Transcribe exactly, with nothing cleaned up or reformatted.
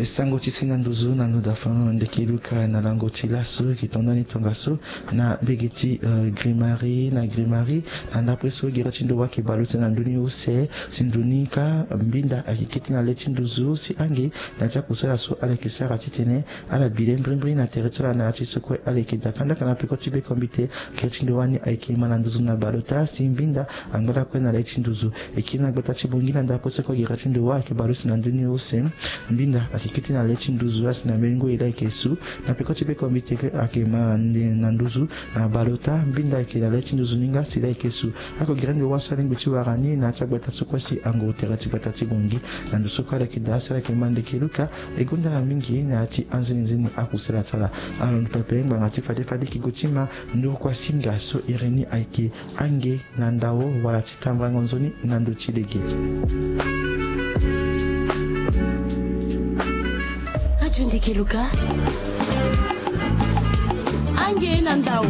Sango ti si na nduzu na ndo dafa na ndeke luka na lango ti laso eke tonda ni tongaso na mbege ti grimari na grimari na ndapre so gere ti ndo wa eke bale use na ndoni use si ndoni ka mbinda ake kete na le ti nduzu si ange na ti akusala so ala eke sara titene ala bile mbrimbri na tere ti ala na ya ti so kue ala eke daka ndaka na peko ti bekombite. Gere ti ndo wani ayeke ma na nduzu na bale ota si mbinda angba lakue na le ti nduzu eke na gbata ti bongi na ndapre so kue gere ti ndo wa ayeke bale use na ndoni use. Mbinda ayeke kete na le ti nduzu asi na mbeni ngoi la ayeke su na peko ti bekombite kue ayeke ma na nduzu na bale ota mbinda ayeke na le ti nduzu ni nga si la ayeke su. Ako gere ndo wa so alingbi ti wara ni na ya ti agbata so kue si ango tere ti gbata ti bongi na ndo so kue ala yeke daa si ala yeke ma ndeke luka. E gonda na mingi na ya ti anzenizeni akusala ti ala. Alondo pepe ngbanga ti fade fade eke gue ti ma nduru kuasinga so iri ni ayeke ange na ndao wala ti tambrango nzoni na ndo ti lege. Radio Ndeke Luka. Ange na ndao.